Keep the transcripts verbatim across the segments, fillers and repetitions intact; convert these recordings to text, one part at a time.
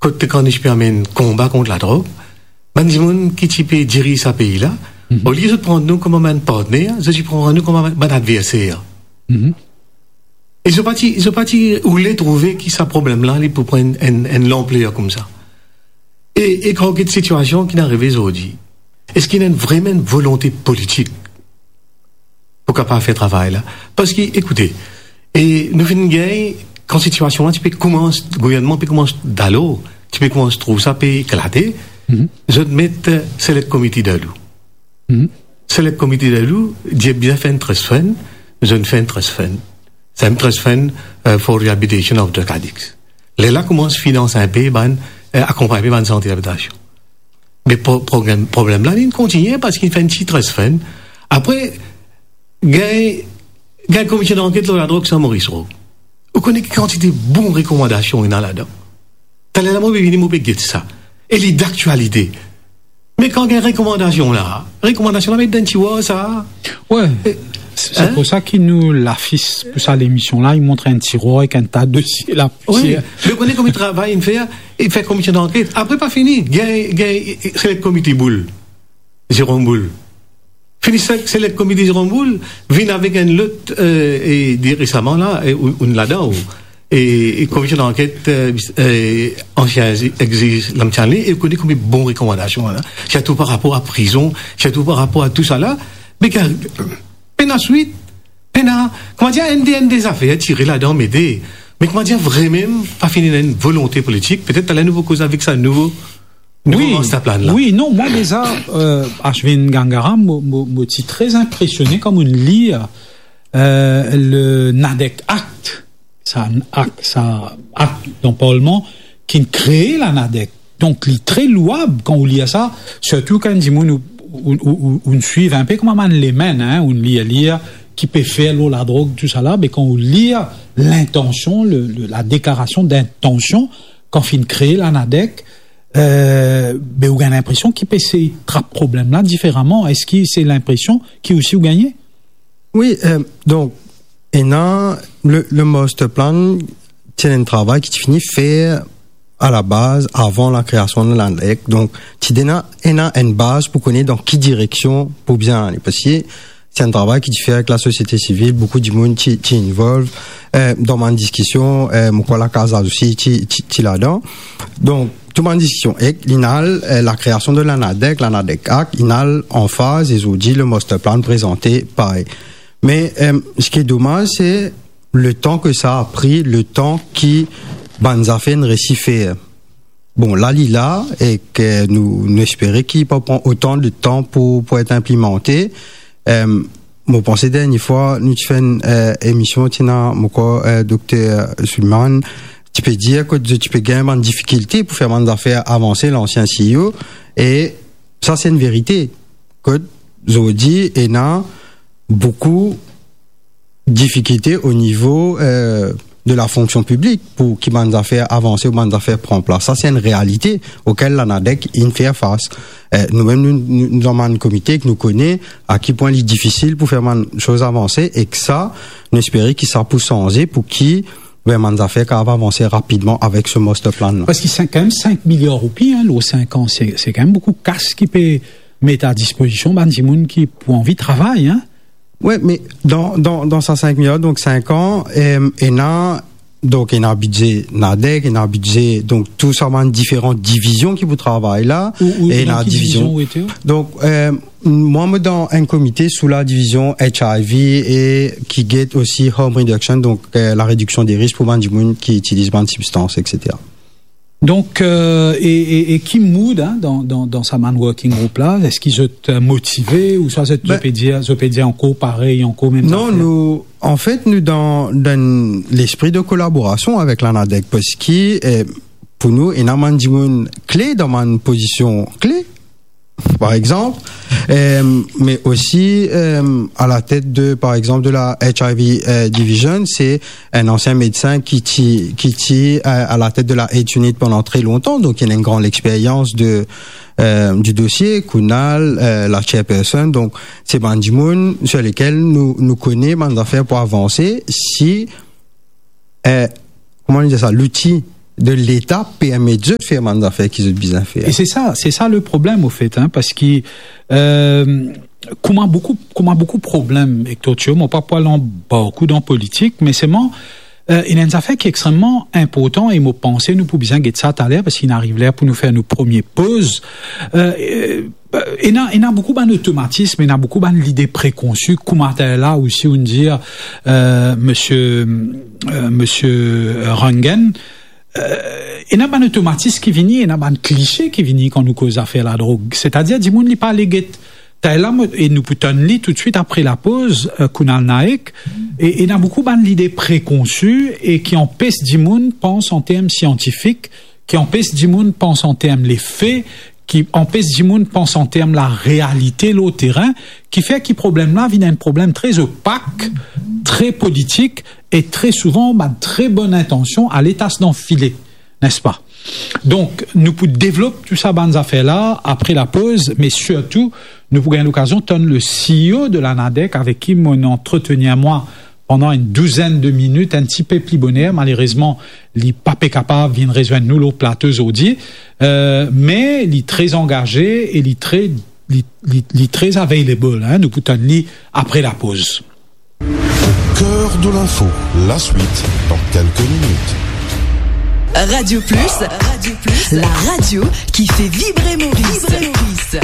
kot kan nou ti pe amenn konba kont ladrog, bann dimoun ki ti pe diriz sa pei la, olie zot pran nou kouma bann partner, zot ti pran nou kouma bann, bann adverser. E zot pa ti, zot pa ti oule trouve ki sa problem la, li pou pran enn, enn, enn lanpler koumsa. E, e kan get sitiasion ki inn arive zordi, eski ena enn, vreman enn volonte politik pou kapav fer travay la? Parski, ekoute, e nou finn gagn, kan sitiasion la ti pe koumans, gouvernman pe koumans dalor, ti pe koumans trouv sa pe eklate, zot met, eh, select committee dan lou. Select committee dan lou, dir bizin fer enn trust fund, zot fer enn trust fund. Sa enn trust fund, eh, for rehabilitation of drug addicts. Lerla koumans finans enpe bann, eh, akonpagn bann sant reabilitasion. Me pro-, problem, problem la, li kontigne parski li fer enn ti trust fund. Apre, gagn, gagn komite danket lor ladrog Saint-Maurice Road. Ou kone ki kantite bon rekomandasion ena ladan. Taler la, mo pe vini, mo pe get sa. E li daktialite. Me kan gagn rekomandasion la, rekomandasion la met dan tiwar sa. Wi. E, se, se pou sa ki nou lafis pou sa lemision la, li montre enn tiwar ek enn ta dosye la. Wi, me ou kone kouma travay inn fer, inn fer komite danket. Apre pa fini, gagn, gagn, select committee Boule. Jérôme Boule. Fini sa, select committee Jérôme Boule, vinn avek enn lot, eh, e de resaman la, e ou, ou ladan, ou, e, e komite danket, eh, eh, ansien ex-, ex-, Lam Stanley, e ou kone konbien bon rekomandasion la. Sirtou par rapor a prizon, sirtou par rapor a tou sa la. Me ki, pena swit, pena, kouma dir, enn de, enn de zafer, tire ladan, mete. Me kouma dir, vremem, pa fini ena enn volonte politik, petet taler nou pou koz avek sa nouvo, nouvo master plan la. Wi, non, mwa deza, eh, Ashwin Gangahar, mo, mo, mo ti tre inpresione kan mo lir, eh, le NADEC Act, sa ak-, sa akt dan Parlman ki kre la NADEC. Donk, li tre louab kan ou lir sa, sirtou kan dimoun ou, ou, ou, ou, ou swiv enpe kouma bann layman, hein, ou lir, lir ki pe fer lor ladrog, tou sa la, me kan ou lir lintansion, le, le, la deklarasion dintansion, kan finn kre la NADEC, eh, be ou gagn linpresion ki pe sey trap problem la diferaman. Eski se linpresion ki osi ou gagne? Wi, eh, donk, ena le, le master plan, ti ena enn travay ki ti fini fer a la baz, avan lakreasion de la NADEC. Donk, ti ena, ena enn baz pou kone dan ki direksion pou bizin ale. Parski se enn travay ki ti fer avek lasosiete sivil, boukou dimoun ti, ti involve, eh, dan bann diskision, eh, mo krwar Lakaz Lazosi ti, ti, ti ladan. Donk, tou bann diskision, ek li ena al, eh, lakreasion de la NADEC, la NADEC Act, li ena al an faz, e zordi le master plan prezante parey. Me, eh, seki domaz, se letan ki sa a pri, letan ki bann zafer inn resi fer. Bon, la li la, ek nou, nou espere ki pa pran otan de tan pou, pou et inplimante. Eh, mo panse dernie fwa nou ti fer enn, eh, emision, ti ena, mo krwar, eh, Dokter Suleiman, ti pe dir ki zot ti pe gagn bann difikilte pou fer bann zafer avanse, lansien CEO, e sa se enn verite. Kot zordi ena boukou difikilte o nivo, eh, de la fonksion piblik pou ki bann zafer avanse ou bann zafer pran plas. Sa se enn realite okel la NADEC inn fer fas. Eh, noumem nou, nou, nou dan bann komite ki nou kone a ki pwin li difisil pou fer bann soz avanse, ek sa, nou espere ki sa pou sanze pou ki, be, bann zafer kapav avanse rapidman avek se master plan la. Parski se kanmem sink miliar roupi, hein, lor sink an, se, se kanmem boukou kas ki pe met a dispozision bann dimoun ki pou anvi travay, hein. Wi, me dan, dan, dan sa sink miliar, donk sink an, eh, ena, donk ena bidze NADEC, ena bidze, donk tou sa bann diferan divizion ki pou travay la, ou, ou, e dan ena ki divizion, divizion ou ete? Donk, eh, mwa, mo dan enn komite sou la divizion HIV e ki get osi harm reduction, donk, eh, la rediksion de risk pou bann dimoun ki itiliz bann sibstans, et cetera. Donk, eh, e, e, e ki mood, hein, dan, dan, dan sa bann working group la? Eski zot, eh, motive ouswa zot, be, zot pe dir, zot pe dir ankor parey, ankor mem zafer? Non, nou, anfet, nou dan, dan lespri de kolaborasion avek la NADEC, parski, eh, pou nou, ena bann dimoun kle dan bann pozision kle, par exanp, eh, me osi, eh, a la tet de, par exanp, de la HIV, eh, division, se enn ansien medsin ki ti, ki ti, eh, a la tet de la AIDS unit pandan tre lontan, donk li ena enn gran lexperyans de, eh, di dosie, Kunal, eh, la chairperson, donk se bann dimoun sir lekel nou, nou kone bann zafer pou avanse, si, eh, kouma nou dir sa, louti de Leta permet zot fer bann zafer ki zot bizin fer. E se sa, se sa le problem, ofet, hein, parski, euh, kouma boukou, kouma boukou problem ek Tokyo, mo pa pou al anba boukou dan politik, me selman, euh, ena enn zafer ki extrememan inportan e mo panse nou pou bizin get sa taler, parski inn ariv ler pou nou fer nou premie poz. Euh, euh, ena, ena boukou bann otomatism, ena boukou bann lide prekonsi, kouma taler la osi, ou'nn dir, euh, misie, euh, misie Rangan, euh, ena bann otomatism ki vini, ena bann klishe ki vini kan nou koz zafer ladrog. Setadir, dimoun li pa ale get. Taler la, mo, e nou pou tann li toutswit apre lapoz, euh, Kunal Naik, e, ena boukou bann lide prekonsi e ki anpes dimoun pans an term siantifik, ki anpes dimoun pans an term lefe, ki anpes dimoun pans an term larealite lor terin, ki fer ki problem la vinn enn problem tre opak, tre politik, e tre souvan bann tre bonn intansion ale tas dan file, nespa? Donk, nou pou devlop tou sa bann zafer la apre lapoz, me sirtou, nou pou gagn lokazion tann le C E O de la NADEC, avek ki mo'nn antretenir mwa pandan enn douzenn de minit, enn tipe pli boner. Malerezman, li pa pe kapav vinn rezwenn nou lor plato zordi, euh, me li tre angaze e li tre, li, li, li tre available, hein. Nou pou tann li apre lapoz. Cœur de l'info, la suite dans quelques minutes. Radio Plus, Radio Plus, la radio qui fait vibrer Maurice. Vibrer Maurice.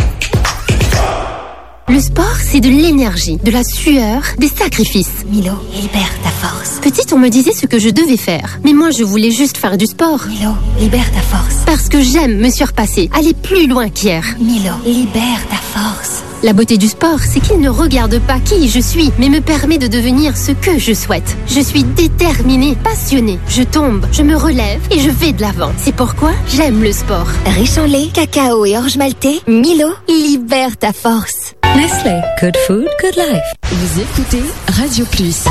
Le sport, c'est de l'énergie, de la sueur, des sacrifices. Milo, libère ta force. Petite, on me disait ce que je devais faire. Mais moi, je voulais juste faire du sport. Milo, libère ta force. Parce que j'aime me surpasser, aller plus loin qu'hier. Milo, libère ta force. La beauté du sport, c'est qu'il ne regarde pas qui je suis, mais me permet de devenir ce que je souhaite. Je suis déterminée, passionnée. Je tombe, je me relève et je vais de l'avant. C'est pourquoi j'aime le sport. Riche en lait, cacao et orge maltais, Milo, libère ta force. Nestlé, good food, good life. Vous écoutez Radio Plus.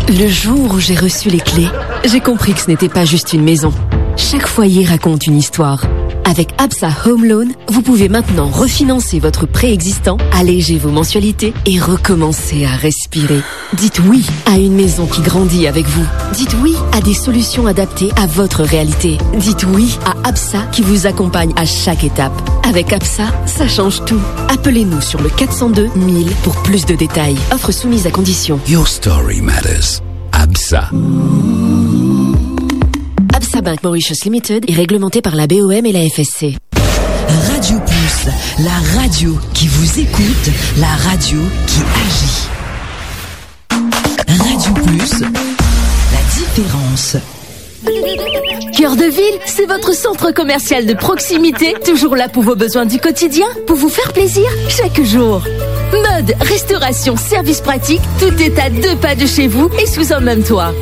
Le jour où j'ai reçu les clés, j'ai compris que ce n'était pas juste une maison. Chaque foyer raconte une histoire. Avec ABSA Home Loan, vous pouvez maintenant refinancer votre prêt existant, alléger vos mensualités et recommencer à respirer. Dites oui à une maison qui grandit avec vous. Dites oui à des solutions adaptées à votre réalité. Dites oui à ABSA qui vous accompagne à chaque étape. Avec ABSA, ça change tout. Appelez-nous sur le quatre cent deux mille pour plus de détails. Offre soumise à conditions. Your story matters. ABSA. ABSA Bank Mauritius Limited est réglementé par la B O M et la F S C. Radio Plus, la radio qui vous écoute, la radio qui agit. Radio Plus, la différence. Cœur de Ville, c'est votre centre commercial de proximité, toujours là pour vos besoins du quotidien, pour vous faire plaisir chaque jour. Mode, restauration, service pratique, tout est à deux pas de chez vous et sous un même toit.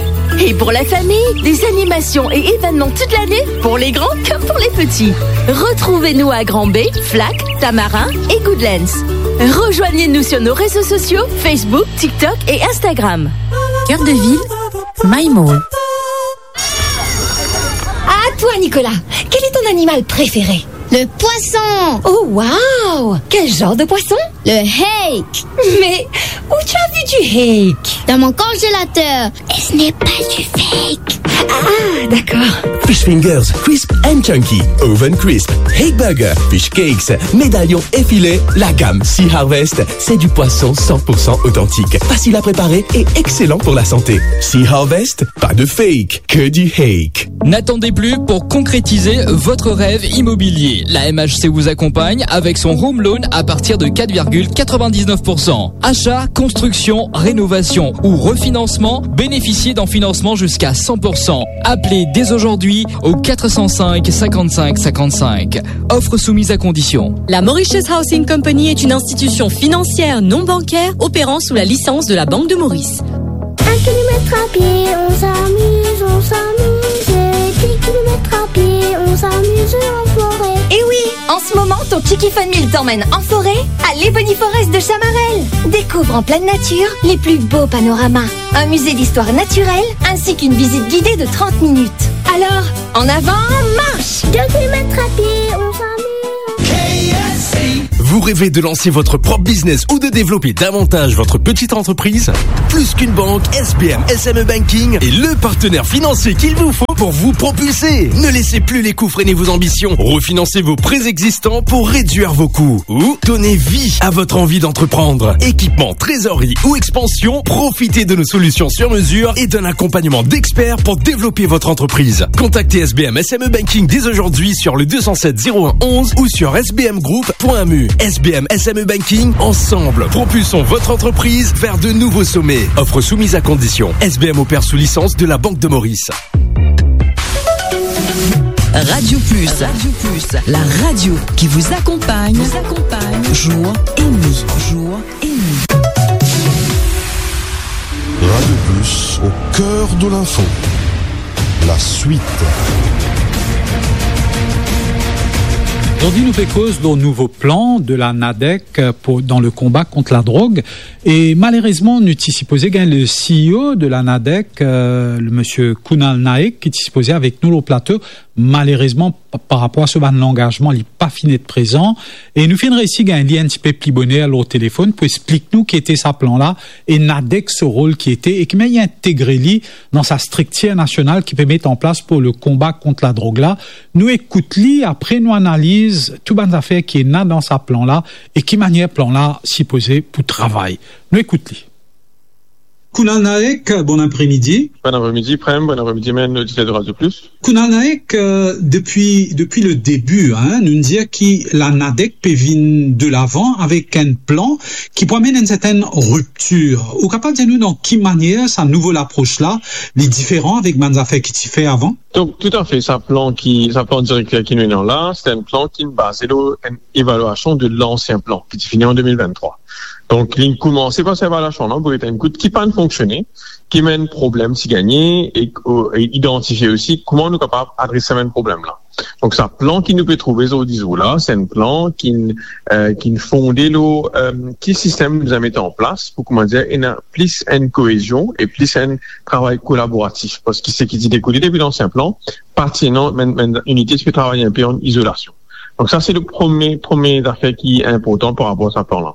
Et pour la famille, des animations et événements toute l'année, pour les grands comme pour les petits. Retrouvez-nous à Grand Baie, Flac, Tamarin et Goodlands. Rejoignez-nous sur nos réseaux sociaux, Facebook, TikTok et Instagram. Cœur de Ville, My Mall. À toi, Nicolas, quel est ton animal préféré ? Le poisson. Oh, waouh ! Quel genre de poisson ? Le hake. Mais où tu as vu du hake ? Dans mon congélateur. Et ce n'est pas du fake. Ah, d'accord. Fish Fingers, crisp and chunky, oven crisp, hake burger, fish cakes, médaillons et filets, la gamme Sea Harvest, c'est du poisson cent pour cent authentique, facile à préparer et excellent pour la santé. Sea Harvest, pas de fake, que du hake. N'attendez plus pour concrétiser votre rêve immobilier. La M H C vous accompagne avec son home loan à partir de quatre virgule quatre-vingt-dix-neuf pour cent. Achat, construction, rénovation ou refinancement, bénéficiez d'un financement jusqu'à cent pour cent. Appelez dès aujourd'hui au quatre cent cinq, cinquante-cinq, cinquante-cinq. Offre soumise à condition. La Mauritius Housing Company est une institution financière non bancaire opérant sous la licence de la Banque de Maurice. Un kilomètre à pied, on s'amuse, on s'amuse. Dix kilomètres à pied, on s'amuse en forêt. Eh oui, en ce moment, ton Kiki Fun Meal t'emmène en forêt, à l'Ebony Forest de Chamarel. Découvre en pleine nature les plus beaux panoramas, un musée d'histoire naturelle ainsi qu'une visite guidée de trente minutes. Alors, en avant, marche ! Deux kilomètres à pied, on s'amuse. Vous Rêvez de lancer votre propre business ou de développer davantage votre petite entreprise ? Plus qu'une banque, S B M S M E Banking est le partenaire financier qu'il vous faut pour vous propulser. Ne laissez plus les coûts freiner vos ambitions. Refinancez vos prêts existants pour réduire vos coûts ou donnez vie à votre envie d'entreprendre. Équipement, trésorerie ou expansion, profitez de nos solutions sur mesure et d'un accompagnement d'experts pour développer votre entreprise. Contactez S B M S M E Banking dès aujourd'hui sur le deux cent sept zéro un onze ou sur S B M group point M U. S B M S M E Banking, ensemble, propulsons votre entreprise vers de nouveaux sommets. Offre soumise à conditions. S B M opère sous licence de la Banque de Maurice. Radio Plus. Radio Plus, la radio qui vous accompagne, vous accompagne, jour et nuit, jour et nuit. Radio Plus, au cœur de l'info. La suite. Zordi nou pe koz lor nouvo plan de la NADEC, euh, pou, dan le konba kont ladrog. E malerezman, nou ti sipoze gagn le C E O de la NADEC, euh, le monsieur Kunal Naik, ki ti sipoze avek nou lor plato. Malerezman, pa, par rapor a so bann langazman, li pa finn et prezan. E nou finn reysi gagn li enn tipe pli boner lor telefonn pou explik nou ki ete sa plan la e NADEC so rol ki ete e ki manier integre li dan sa striktir nasional ki pe met an plas pou le konba kont ladrog la. Nou ekout li, apre nou analiz tou bann zafer ki ena dan sa plan la e ki manier plan la sipoze pou travay. Nou ekout li. Kunal Naik, bon apremidi. Bon apremidi, Prem. Bon apremidi, bann oditer de Radio Plus. Kunal Naik, euh, depi, depi le debi, hein, nou dir ki la NADEC pe vinn de lavan avek enn plan ki pou amenn enn sertenn riptir. Ou kapav dir nou dan ki manier sa nouvo lapros la, li diferan avek bann zafer ki ti fer avan? Donk, toutafe, sa plan ki, sa plan direkter ki nou ena la, se enn plan ki baze lor enn evalwasion de lansien plan ki ti fini an de mil venntrwa. Donk, li koumanse par sa evalwasion la, pou get enn kout ki pa'nn fonksione, ki bann problem ti gagne, e, e idantifie osi kouma nou kapav adres sa bann problem la. Donk, sa plan ki nou pe trouve zordi zour la, se enn plan ki, eh, ki fonde lor, eh, ki sistem nou bizin met an plas pou, kouma dir, ena plis enn koezion e plis enn travay kolaboratif. Parski seki ti dekoule depi lansien plan, pa ti ena, bann, bann inite ti pe travay enpe an izolasion. Donk sa, se le premie, premie zafer ki inportan par rapor a sa plan la.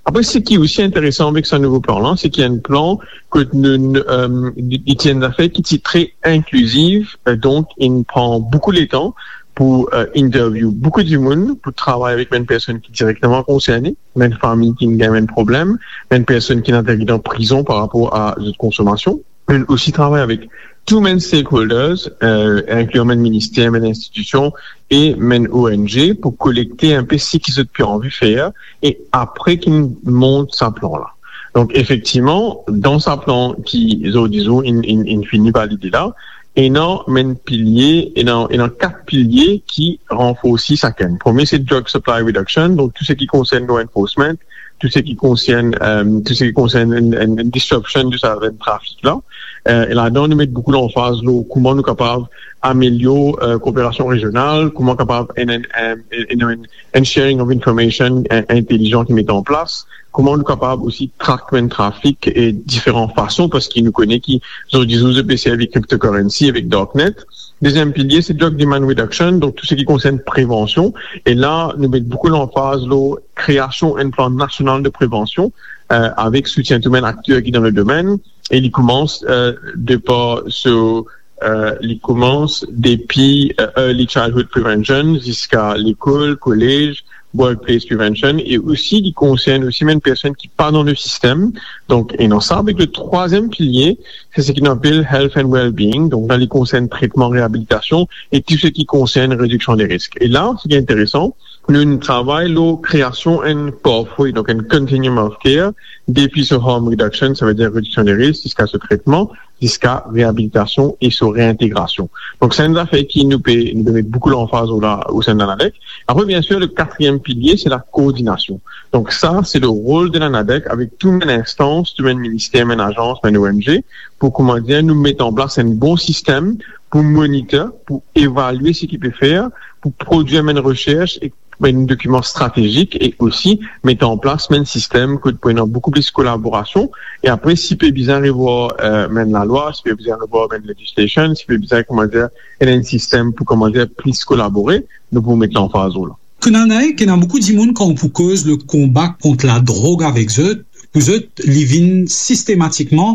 Apre, seki osi interesan avek sa nouvo plan la, se ki enn plan kot nou, nou, eh, li, li ti enn zafer ki ti tre inkliziv, eh, donk, li pran boukou letan pou, eh, interview boukou dimoun, pou travay avek bann personn ki direkteman konserne, bann fami ki gagn bann problem, bann personn ki ena dan prizon par rapor a zot konsomasion. Li osi travay avek tou bann stakeholders, eh, inkli bann minister, bann institision e bann O N G pou kolekte enpe seki zot pe anvi fer e apre ki mont sa plan la. Donk, efektivman, dan sa plan ki, zordi zour, inn, inn, inn fini par lide la, ena bann pilie, ena, ena kat pilie ki ranforsi sakenn. Premie, se drug supply reduction, donk tou seki konsern law enforcement, tou seki konsern, eh, tou seki konsern enn, enn, enn disruption de sa, enn trafik la. Eh, e ladan, nou met boukou lanfaz lor kouma nou kapav amelior, eh, kooperasion rezional, kouma kapav enn, enn, enn, enn, enn, enn sharing of information, eh, intelizan ki met an plas, kouma nou kapav osi track bann trafik e diferan fason, parski nou kone ki zordi zour zot pe servi cryptocurrency avek darknet. Deziem pilie, se drug demand reduction, donk tou seki konsern prevansion. E la, nou met boukou lanfaz lor kreasion enn plan nasional de prevansion, eh, avek soutien tou bann akter ki dan le domenn. E li koumans, eh, de par so, eh, li koumans depi, eh, early childhood prevention ziska lekol, kolez, workplace prevention, e osi li konsern osi bann personn ki pa dan le sistem. Donk, ena sa, avek le trwaziem pilie, se seki nou apel health and well-being. Donk la, li konsern tretman, reabilitasion e tou seki konsern rediksion de risk. E la, seki interesan, nou travay lor kreasion enn pathway, donk enn continuum of care, depi so harm reduction, savedir rediksion de risk, ziska so tretman, ziska reabilitasion e so reintegrasion. Donk, se enn zafer ki nou pe, nou pe met boukou lanfaz la, o sein de la NADEC. Apre, biensir, le katriem pilie, se la koordinasion. Donk, sa, se le rol de la NADEC avek tou bann instans, tou bann minister, bann azans, bann O N G, pou, kouma dir, nou met an plas enn bon sistem pou monitor, pou evalie seki pe fer, pou prodwir bann resers e bann dokiman stratezik e osi met an plas bann sistem kot pou ena boukou plis kolaborasion. E apre, si pe bizin revwar, eh, bann lalwa, si pe bizin revwar bann legislation, si pe bizin, kouma dir, ena enn sistem pou, kouma dir, plis kolabore, nou pou met lanfaz la. Kunal Naik, ena boukou dimoun kan ou pou koz le konba kont ladrog avek zot, pou zot, li vinn sistematikman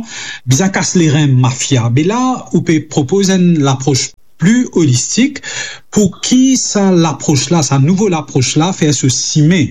bizin kas lerin mafia. Be la, ou pe propoz enn laproz pli olistik. Pou ki sa laproz la, sa nouvo laproz la, fer so sime,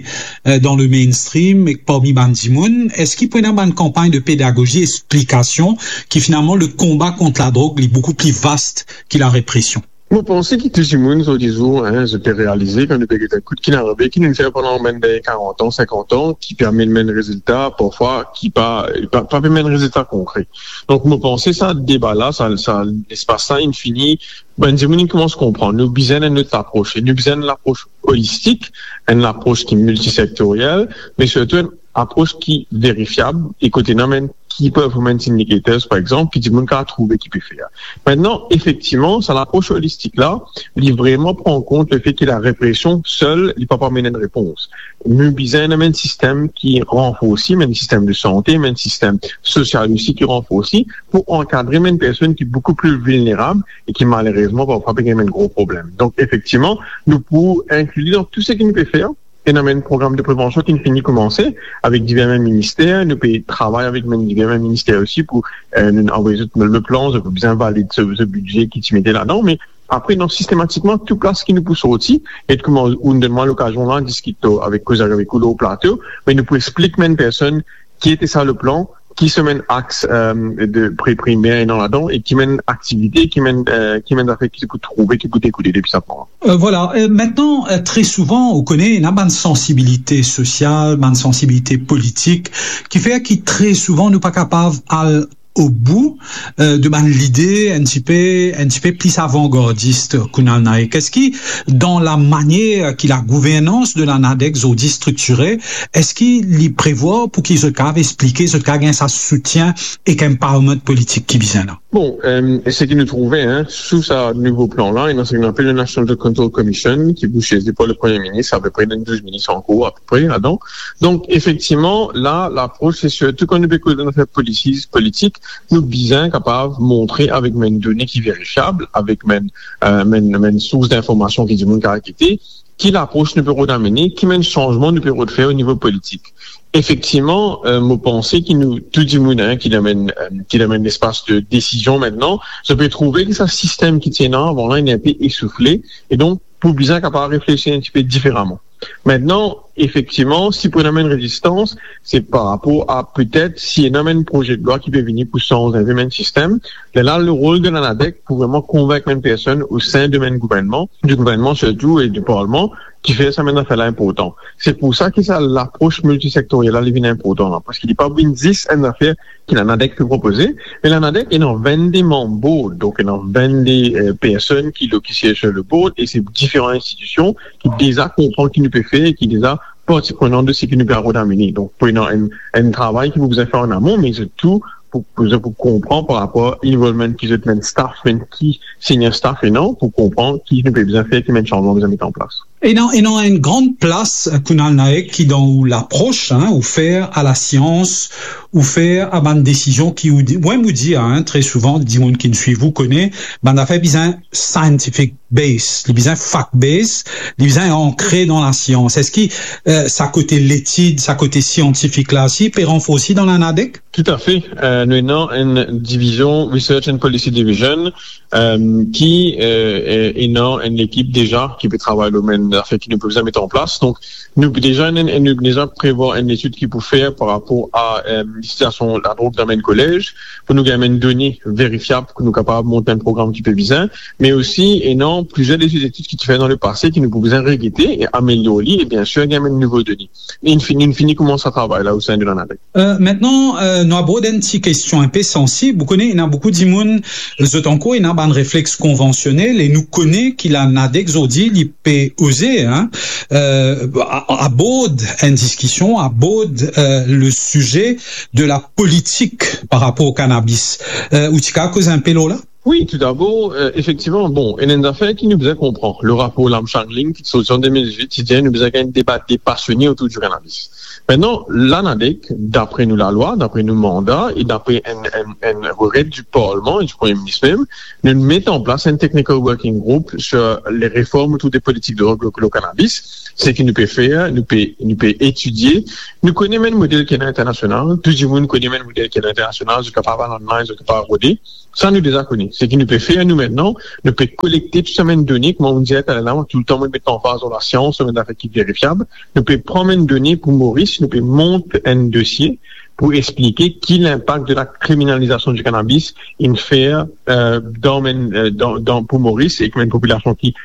eh, dan le mainstream ek parmi bann dimoun? Eski pou ena bann kanpagn de pedagozi, eksplikasion ki finalman le konba kont ladrog, li boukou pli vast ki larepresion? Mo panse ki tou dimoun, zot dimoun, hein, zot pe realize, kan nou pe get enn kout ki inn arive, ki nou fer pandan bann dernie karant an, sinkant an, ki pe amenn bann rezilta, parfwa, ki pa, pa, pa pe amenn rezilta konkre. Donk, mo panse sa deba la, sa, sa lespas la, inn fini, bann dimoun inn koumans konpran. Nou bizin enn lot laproz. E nou bizin enn laproz olistik, enn laproz ki miltisektoriel, me sirtou enn aproz ki verifiab, e kot ena bann key performance indicators, par exanp, ki dimoun kapav trouve ki pe fer. Aster, efektivman, sa laproz olistik la, li vreman pran kont lefe ki larepresion sel, li pa pou amenn enn repons. Nou bizin ena bann sistem ki ranforsi, bann sistem de sante, bann sistem sosial osi ki ranforsi, pou ankadre bann personn ki boukou pli vilnerab e ki malerezman parfwa pe gagn bann gro problem. Donk, efektivman, nou pou inkli li dan tou seki nou pe fer. Ena bann program de prevansion ki finn fini koumanse avek diver bann minister. Nou pe travay avek bann diver bann minister osi pou, eh, nou avoy zot le plan, zot pou bizin valid so, so bidze ki ti mete ladan. Me apre, non, sistematikman, tou plas ki nou pou sorti, e kouma ou'nn donn mwa lokazion la diskit avek, koze avek ou lor plato, me nou pou explik bann personn ki ete sa le plan, ki so bann ax, eh, de pri-, primer ena ladan, e ki bann aktivite, ki bann, eh, ki bann zafer ki pou trouve, ki pou dekoule depi sa plan. Eh, vwala. Eh, aster, eh, tre souvan, ou kone, ena bann sansibilite sosial, bann sansibilite politik, ki fer ki tre souvan nou pa kapav al o bou, eh, de bann lide enn tipe, enn tipe pli avangardis, Kunal Naik. Eski dan lamanier ki lagouvernans de la NADEC zordi striktire, eski li prevwar pou ki zot kapav explike, zot kapav gagn sa soutien ek empowerment politik ki bizin la? Bon, eh, seki nou trouve, hein, sou sa nouvo plan la, ena seki nou apel le National Drug Control Commission, ki pou sieze par le Premie Minis, apepre dan douz minis ankor, apepre, ladan. Donk, efektivman, la, laproz, se sirtou kan nou pe koz dan zafer politik, politik, nou bizin kapav montre avek bann done ki verifiab, avek bann, eh, bann, bann sours dinformasion ki dimoun kapav gete, ki laproz nou pe rod amene, ki bann sanzman nou pe rod fer o nivo politik. Efektivman, eh, mo panse ki nou, tou dimoun, hein, ki dan bann, eh, ki dan bann lespas de desizion aster, zot pe trouve ki sa sistem ki ti ena avan la, li enpe esoufle, e donk, pou bizin kapav reflesi enn tipe diferaman. Aster, efektivman, si pou ena bann rezistans, se par rapor a petet si ena bann proze de lwa ki pe vini pou sanz enn pe bann sistem. Lerla, le rol de la NADEC pou vreman konvink bann personn o sein de bann gouvernman, di gouvernman sirtou e di parlman, ki fer sa bann zafer la inportan. Se pou sa ki sa laproz miltisektoriel la, li vinn inportan la, parski li pa vinn zis enn zafer ki la NADEC pe propoze, me la NADEC ena vennde manm board, donk ena vennde, eh, personn ki, ki siez lor le board, e se diferan institision ki deza konpran ki nou pe fer, ki deza parti prenan de seki nou pe rod amene. Donk, pou ena enn, enn travay ki pou bizin fer an amon, me sirtou pou, pou, pou konpran par rapor involvement ki zot bann staff, bann ki senior staff ena, pou konpran ki nou pe bizin fer, ki bann sanzman bizin met an plas. Ena, ena enn gran plas, Kunal Naik, ki dan ou laproz, hein, ou fer a lasians, ou fer a bann desizion ki ou di, mwa mo dir, hein, tre souvan, dimoun ki swiv ou kone, bann zafer bizin scientific base, li bizin fact base, li bizin ankre dan lasians. Eski, eh, sa kote letid, sa kote siantifik la osi pe ranforsi dan la NADEC? Toutafe. Eh, nou ena enn divizion, Research and Policy Division, eh, ki, eh, eh, ena enn lekip deza ki pe travay lor bann zafer ki nou pou bizin met an plas. Donk, nou deza, nou, nou deza prevwar enn letid ki pou fer par rapor a, eh, sitiasion ladrog dan bann kolez, pou nou gagn bann done verifiab, pou nou kapav mont enn program ki pe bizin, me osi, ena plizier de letid ki ti fer dan lepase, ki nou pou bizin regete e amelior li, e biensir, gagn bann nouvo done. Inn fini, inn fini koumans sa travay la o sein de la NADEC. Eh, aster, eh, nou abord enn ti kestion inpe sansib. Ou kone, ena boukou dimoun, zot ankor ena bann reflex konvansionel, e nou kone ki la NADEC zordi, li pe oze, hein, eh, a-, abord enn diskision, abord, eh, le size de la politik par rapor o kanabis. Eh, ou ti kapav koz inpe lor la? Wi, toudabor, eh, efektivman, bon, ena enn zafer ki nou bizin konpran. Le rapor Lamshangling ki sorti an de mil diz-wit, ti dir nou bizin gagn deba depasione otour di kanabis. Aster, la, NADEC, dapre nou lalwa, dapre nou manda e dapre enn, enn, enn rekrèt di Parlman e di Premie Minis mem, nou met an plas enn technical working group sur les réformes autour des politiques de drog lo, lo cannabis. Seki nou pe fer, nou pe, nou pe etidie. Nou kone mem model ki ena internasional, tou dimoun kone mem model ki ena internasional, zot kapav al online, zot kapav rode. Sa nou deza kone. Seki nou pe fer nou aster, nou pe kolekte tou sa bann done, kouma mo dir taler la, mwa toultan mo met lanfaz lor lasians, lor bann zafer ki verifiab. Nou pe pran bann done pou Moris, nou pe mont enn dosie pou explike ki linpak de la kriminalizasion di cannabis inn fer, euh, dan bann, euh, dan, dan, pou Moris ek bann popilasion ki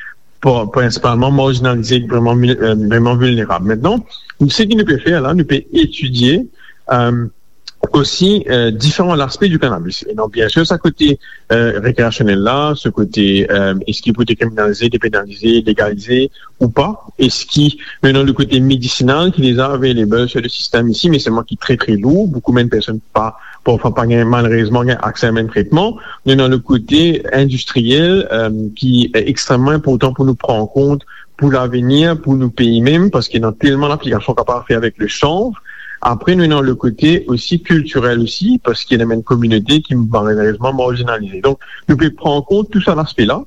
pri-, prinsipalman marzinalize, vreman, euh, vreman vilnerab. Aster, seki nou pe fer la, nou pe etidie, euh, osi, euh, diferan laspe di cannabis. E donk, biensir, sa kote, euh, rekreasionel la, sa kote, euh, eski pou dekriminalize, depenalize, legalize ou pa, eski nou ena le kote medisinal ki deza available sur le sistem isi, me selman ki tre, tre lour, boukou bann personn pa, parfwa pa gagn, malerezman, gagn akse a bann tretman. Nou ena le kote indistriel, euh, ki extrememan inportan pou nou pran kont pou lavenir, pou nou pei mem, parski ena telman laplikasion kapav fer avek le chanvre. Apre, nou ena le kote osi kiltirel osi, parski ena bann kominote ki malerezman marzinalize. Donk, nou pe pran kont tou sa laspe la,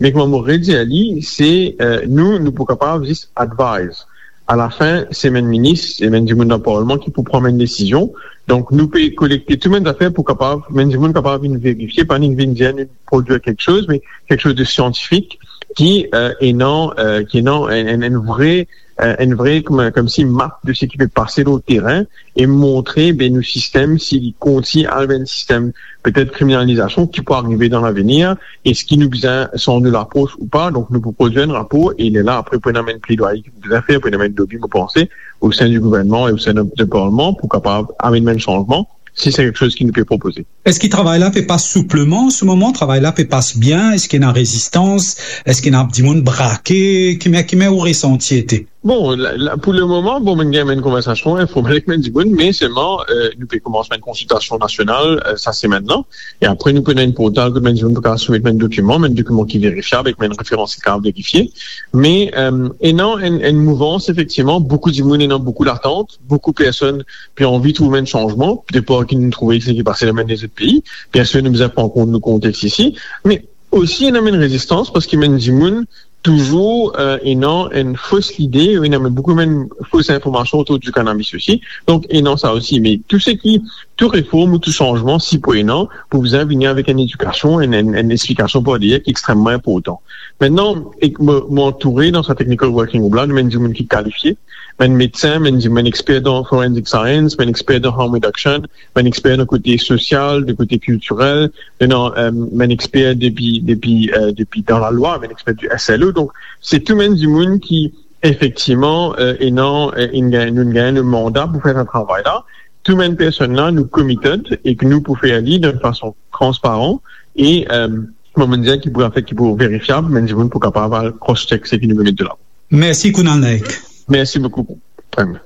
me kouma mo redir li, se, euh, nou, nou pou kapav zis advise. Alafin, se bann minis, se bann dimoun dan Parlman ki pou pran bann desizion. Donk, nou pe kolekte tou bann zafer pou kapav, bann dimoun kapav vinn verifie, pa nek vinn dir nou prodwir kiksoz, me kiksoz de siantifik ki, euh, ena, euh, ki ena enn, enn, enn vre, euh, enn vre, kouma, koumsi map de seki pe pase lor terin e montre, be, nou sistem, si li kontign al ver enn sistem petet kriminalizasion, ki pou arive dan lavenir, eski nou bizin sanz nou lapros ou pa. Donk, nou pou prodwir enn rapor e lerla, apre, pou ena bann pledwaye ki pou bizin fer, pou ena bann lobi, mo panse, o sein di gouvernman e o sein de, de Parlman pou kapav amenn bann sanzman, si se kiksoz ki nou pe propoze. Eski travay la pe pas soupleman an se moman? Travay la pe pas bien? Eski ena rezistans? Eski ena dimoun brake? Ki mane, ki mane ou resanti ete? Bon, la, la, pou le moman, bon, nou gagn enn konversasion informel ek bann dimoun, me selman, euh, nou pe koumans enn konsiltasion nasional, euh, sa semenn la. E apre, nou pou ena enn portal kot bann dimoun pou kapav soumet bann dokiman, bann dokiman ki verifiab, ek bann referans ki kapav verifie. Me, euh, ena enn, enn mouvans, efektivman, boukou dimoun, ena boukou latant, boukou personn pe anvi trouv enn sanzman, depar ki nou trouve seki pase dan bann lezot pei. Biensir, nou bizin pran kont nou kontex isi, me osi ena enn rezistans, parski bann dimoun touzour, euh, ena enn fos lide, ena enn boukou bann fos informasion otour di cannabis osi. Donk, ena sa osi, me tou seki, tou reform ou tou sanzman, si pou ena, pou bizin vini avek enn edikasion, enn, enn, enn explikasion par deyer ki extrememan inportan. Aster, ek mo, mo antoure dan sa technical working group la, nou ena bann dimoun ki kalifie, bann medsin, bann dimoun, bann exper dan forensic science, bann exper dan harm reduction, bann exper dan kote sosial, dan kote kiltirel, ena, euh, bann exper depi, depi, euh, depi dan lalwa, bann exper di S L O. Donk, se tou bann dimoun ki, efektivman, euh, ena, euh, inn gagn, nou gagn le manda pou fer sa travay la. Tou bann personn la, nou committed ek nou pou fer li dan enn fason transparan e, euh, kouma mo dir, ki pou afet, ki pou verifiab, bann dimoun pou kapav al cross-check seki nou pe met de lavan. Mersi, Kunal Naik. Mersi boukou, Prem.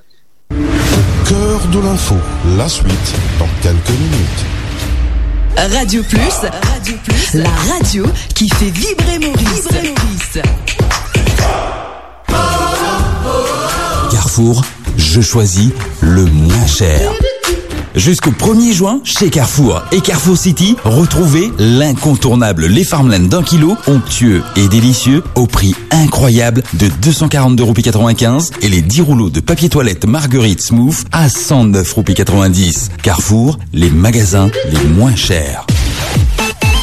Au cœur de l'info, la suite dans quelques minutes. Radio Plus, Radio Plus, la radio qui fait vibrer Maurice. Vibrer Maurice. Carrefour, je choisis le moins cher. Jusqu'au premier juin, chez Carrefour et Carrefour City, retrouvez l'incontournable Les Farmland d'un kilo, onctueux et délicieux, au prix incroyable de deux cent quarante-deux euros quatre-vingt-quinze, et les dix rouleaux de papier toilette Marguerite Smooth à cent neuf roupies quatre-vingt-dix. Carrefour, les magasins les moins chers.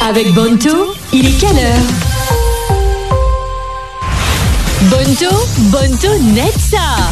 Avec Bonto, il est quelle heure ? Bonto, Bonto, net sa.